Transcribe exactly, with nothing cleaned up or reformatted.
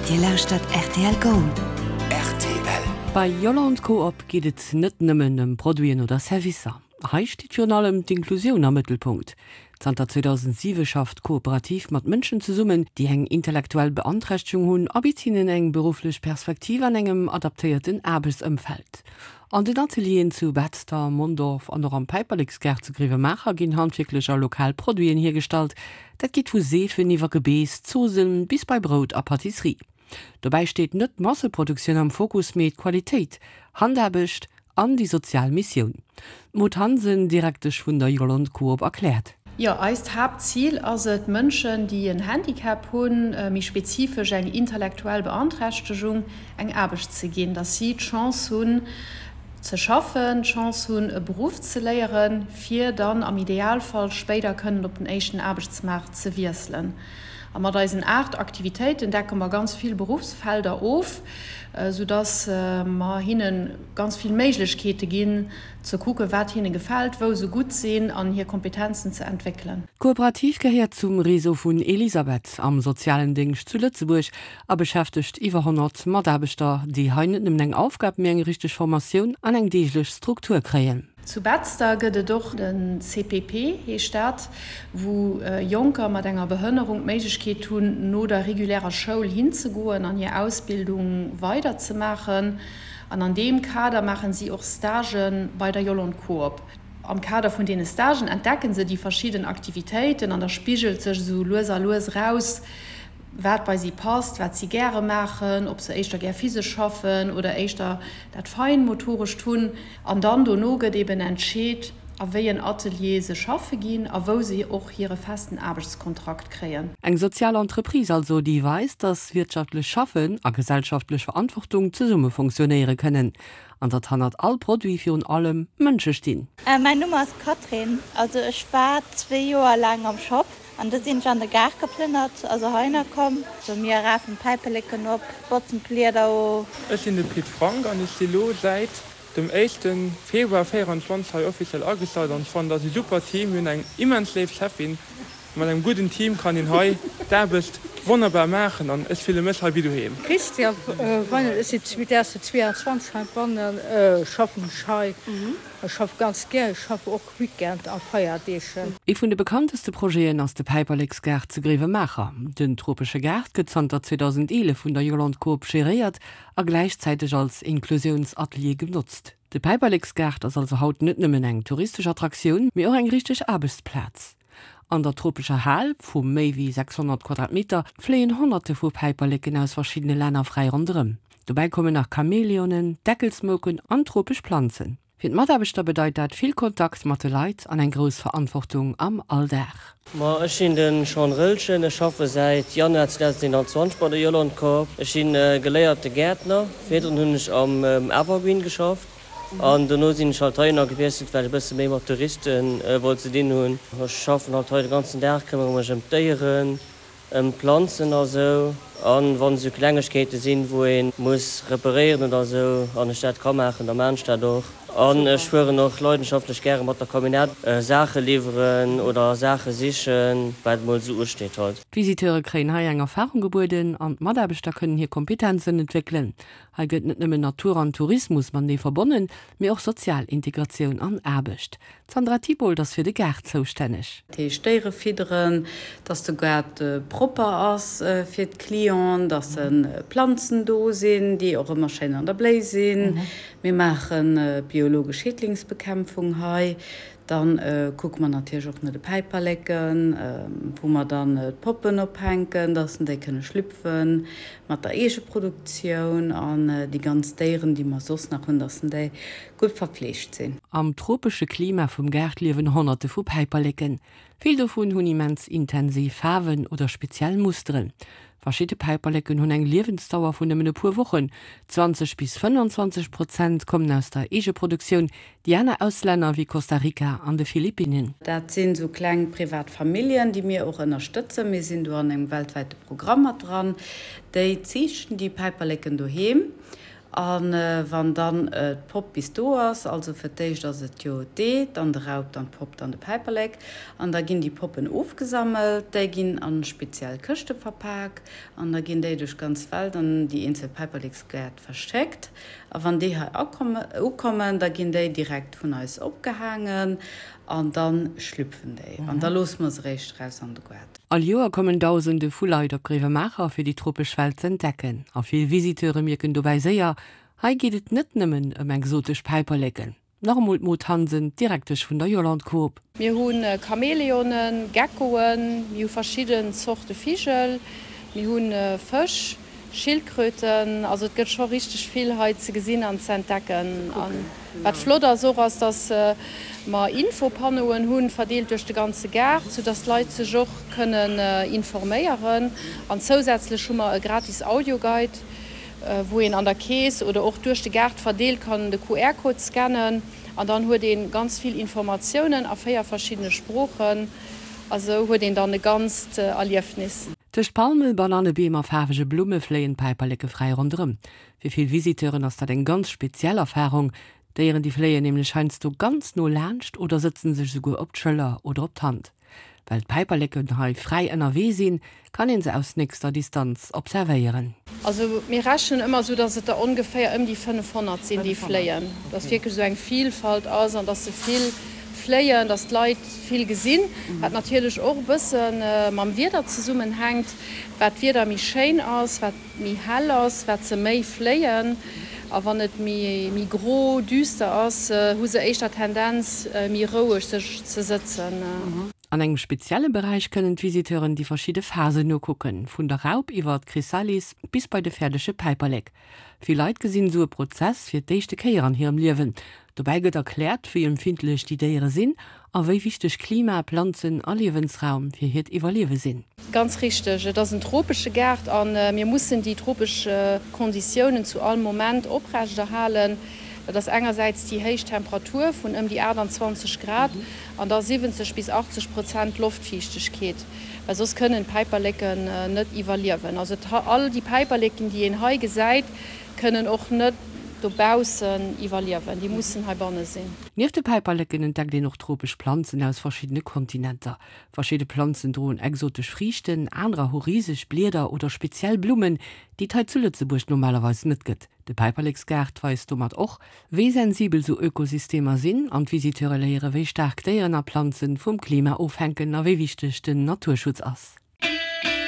Dir lauschtert rtl Gold. Rtl. Bei Yolande Coop geet et net nëmmen ëm Produiten oder Servicer. Hei steet virun allem d'Inklusioun am Mëttelpunkt. Zanter zweedausentsiwe schafft d'Kooperativ mat Mënschen zesummen, déi eng intellektuell Beanträchtegung hunn, a bitt hinnen eng berufflech Perspektiv an engem adaptéierten Aarbechtsëmfeld. An den Atelieren zu Betzder, Mondorf an och am Päiperleksgaart zu Gréiwemaacher ginn handwierklech a lokal Produiten hiergestallt. Dat geet vu Seefen iwwer Gebeess, Zoossen bis bei Brout a Pâtisserie. Dobäi steet net d'Masseproduktioun am Fokus, mee d'Qualitéit, Handaarbecht an déi sozial Missioun. D'Maud Hansen, Direktesch vun der Yolande Coop erkläert. Jo, eist Haaptzil ass et, Mënschen, déi en Handicap hunn, méi spezifesch eng intellektuell Beanträchtegung, eng Aarbecht ze ginn, dass si d'Chance hunn ze schaffen, d'Chance hunn e Beruff ze léieren, fir dann am Idealfall spéider kënnen op den éischten Aarbechtsmaart ze wiesselen. A mat eisen aacht Aktivitéiten decke mer ganz vill Beruffsfelder of, soudass mer hinne ganz vill Méiglechkeete ginn, ze kucken, wat hinne gefält, wou se gutt sinn an hir Kompetenzen ze entwéckelen. D'Kooperativ gehéiert zum Réseau vun Elisabeth am sozialen Déngscht zu Lëtzebuerg a beschäftegt iwwer honnert Mataarbechter, déi hei net nëmmen eng Aufgab, mee eng richteg Formatioun an eng deeglech Struktur kréien. Zu Betzder gëtt et och den C P P heescht dat, wou Jonker mat enger Behënnerung d'Méiglechkeet hunn, no der regulärer Schoul hinzegoen an hir Ausbildung weiderzemaachen. An an deem Kader maachen si och Stagë bei der Yolande Coop. Am Kader vun deene Stagen entdecken se déi verschidden Aktivitéiten an da spigelt sech esou lues a lues eraus, wat bei si passt, wat si gäre maachen, ob se éischter gär physesch schaffen oder éischter dat Feinmotorescht hunn. An dann dono gëtt eben entscheet, a wéi en Atelier se schaffe ginn a wou se och hire festen Aarbechtskontrakt kréien. Eng sozial Entreprise also, déi weist, dass wirtschaftlech Schaffen a gesellschaftlech Verantwortung zesumme funktionéiere kënnen an datt hannert all Produit virun allem Mënsche stinn. Mäin Numm ass Catherine, also ech war zwee Joer laang am Shop an du sinn ech an de Gaart geplënnert, also heihinner komm. Also mir rafen d'Päiperleken op, botzen d'Blieder of. Ech sinn de Pit Frank an ech si lo säit dem éischte Februar véieranzwanzeg hei offiziell agestallt an ech fannen, dat ass e super Team. Mir hunn eng immens léif Cheffin. Mat engem gudden Team kann een hei d'Aarbecht wonnerbar maachen an ech fille mech hei wéi doheem. Christian Weinert, Ech sinn zweedausendzweianzwanzeg heibannen, schaffen ech hei. Ech schaffe ganz gär, ech schaffe och Weekend a Feierdeeg. Ee vun de bekannteste Projeten ass de Päiperleksgaart zu Gréiwemaacher. Den tropesche Gaart gëtt zanter zweedausendeelef vun der Yolande Coop geréiert a gläichzäiteg als Inklusiounsatelier genotzt. De Päiperleksgaart ass also haut net nëmmen eng touristesch Attraktioun, mee och eng richteg Aarbechtsplaz. An der tropescher Hal vu méi wéi sechshonnert Quadratmeter fléien Honnerte vu Päiperleken aus verschiddene Länner fräi ronderëm. Dobäi kommen nach Chamäleonen, Deckelsmouken an tropesch Planzen. Fir d'Mataarbechter bedeit dat vill Kontakt mat de Leit an eng grouss Verantwortung am Alldag. Ma ech sinn de Sean Rëlchen, ech schaffe säit Januar zweedauseneenanzwanzeg bei der Yolande Coop. Ech si geléierte Gäertner, virdrun hunn ech am Evergreen geschafft an dono sinn ech halt heihinner gewiesselt, well ech e bësse méi mat Touriste wollt ze dinn hunn. Ech schaffen halt hei de ganzen Dag, këmmere mech ëm d'Déieren, ëm d'Planzen a sou. An wann esou Klengegkeete sinn, wou ee muss reparéieren oder sou an ech dat ka maachen, da maan ech dat och. An ech fueren och leidenschaftlech gäre mat der Camionnette Saache liwweren oder Saache sichen, wat emol esou usteet halt. D'Visiteure kréien hei eng Erfarung gebueden an d'Mataarbechter kënnen hir Kompetenzen entwéckelen. Hei gëtt net nëmmen Natur an Tourismus matenee verbonnen, mee och sozial Integratioun an Aarbecht. D'Sandra Thibault ass fir de Gaart zoustänneg. Dat heescht Déiere fidderen, dass de Gaart propper ass fir d'Clienten, dass Planzen do sinn, déi och ëmmer schéin an der Bléi sinn. Mir maache biologesch Schädlingsbekämpfung hei. Dann kucke mer natierlech och no de Päiperleken, wou mer dann d'Poppen ophänken, dass déi kënne schlüpfen mat der Eegeproduktioun an déi ganz Déieren, déi mer soss nach hunn, dass déi gutt verfleegt sinn. Am tropesche Klima vum Gaart liewen Honnerte vu Päiperleken. Vill dovun hunn immens intensiv Faarwen oder speziell Musteren. Verschidde Päiperleken hunn eng Liewensdauer vun nëmmen e puer Wochen. zwanzeg bis fënnanzwanzeg Prozent kommen aus der Eegeproduktioun, déi aner aus Länner wéi Costa Rica an de Philippinnen. Dat sinn esou kleng privat Familljen, déi mir och ënnerstëtzen. Mir sinn do an engem weltwäite Programm mat dran. Déi ziichten déi Päiperleken doheem A wann dann d'Popp bis do ass, also fir d'éischt ass et jo d'Ee, dann de Raup, dann d'Popp, dann de Päiperlek, an da ginn déi Poppen ofgesammelt, déi ginn a speziell Këschte verpak an da ginn déi duerch d'ganz Welt an déi eenzel Päiperleksgäert verschéckt. A wann déi hei ukommen, da ginn déi direkt vun eis opgehaangen an da schlüpfen déi an da loosse mer se eréischt eraus an de Gaart. All Joer kommen Dausende vu Leit op Gréiwemaacher fir déi tropesch Welt z'entdecken. A vill Visiteure mierken dobäi séier, Hei geet et net nëmmen ëm exotesch Päiperleken. Nach emol d'Maud Hansen, d'Direktesch vun der Yolande Coop. Mir hu Chamäleonen, Geckoen, mir hu verschidden Zorte Vigel, mir hu Fësch, Schildkröten, also et gëtt scho richteg vill hei ze gesinn an ze entdecken. A wat flott ass och, ass dass mer Infopanneauen hunn, verdeelt duerch de ganze Gaart, sou dass d'Leit sech och kënnen informéieren. An zousätzlech hu mer e gratis Audioguide, wou een an der Kees oder och duerch de Gaart verdeelt kann de Q R-Code scannen an dann huet ee ganz vill Informatiounen a véier verschiddene Sproochen. A sou huet een dann e ganzt Erliefnis. Tëscht Palmen, Banannebeem a faarwege Blumme fléien d'Päiperleke fräi ronderëm. Fir vill Visiteuren ass dat eng ganz speziell Erfarung. D'Déieren déi fléien nämlech heiansdo ganz no laanscht oder sëtzen sech esouguer op d'Schëller oder op d'Hand. Well d'Päiperleken hei fräi ënnerwee sinn, kann een se aus nächster Distanz observéieren. Also mir rechnen ëmmer esou, dass et der ongeféier ëm déi fënnefhonnert sinn, déi fléien. Dass wierklech esou eng Vielfalt ass an dass se vill fléien, dass d'Leit vill gesinn, wat natierlech och e bësse mam Wieder zesummenhänkt. Wat d'Wieder méi schéin ass, wat méi hell ass, wat se méi fléien. A wann et méi gro, düster ass, hu se éischter Tendenz, méi roueg sech ze sëtzen. An engem spezielle Beräich kënnen d'Visiteuren déi verschidde Phasen nokucken, vun der Raup iwwer d'Chrysalis bis bei de fäerdege Päiperlek. Vill Leit gesinn esou e Prozess fir d'éischte Kéier an hirem Liewen. Dobäi gëtt erkläert, wéi empfindlech déi Déiere sinn a wéi wichteg Klima, Planzen a Liewensraum fir hiert Iwwerliewe sinn. Ganz richteg, et ass en tropesche Gaart a mir mussen déi tropesch Konditiounen zu all Moment oprechterhalen. Dat ass engersäits déi héich Temperatur vun ëm déi aachtanzwanzeg Grad an da siwwenzeg bis achtzeg Prozent Loftfiichtegkeet, well soss kënnen d'Päiperleken net iwwerliewen. Also all déi Päiperleken, déi een hei gesäit, kënnen och net dobaussen iwwerliewen, déi mussen heibanne sinn. Nieft de Päiperleken entdeckt een och tropesch Planzen aus verschiddene Kontinenter. Verschidde Planzen droen exotesch Friichten, anerer hu riseg Blieder oder speziell Blummen, déi et hei zu Lëtzebuerg normalerweis net gëtt. De Päiperleksgaart weist domat och, wéi sensibel sou Ökosystemer sinn an d'Visiteure léiere wéi staark Déieren a Planzen vum Klima ofhänken a wéi wichteg den Naturschutz ass.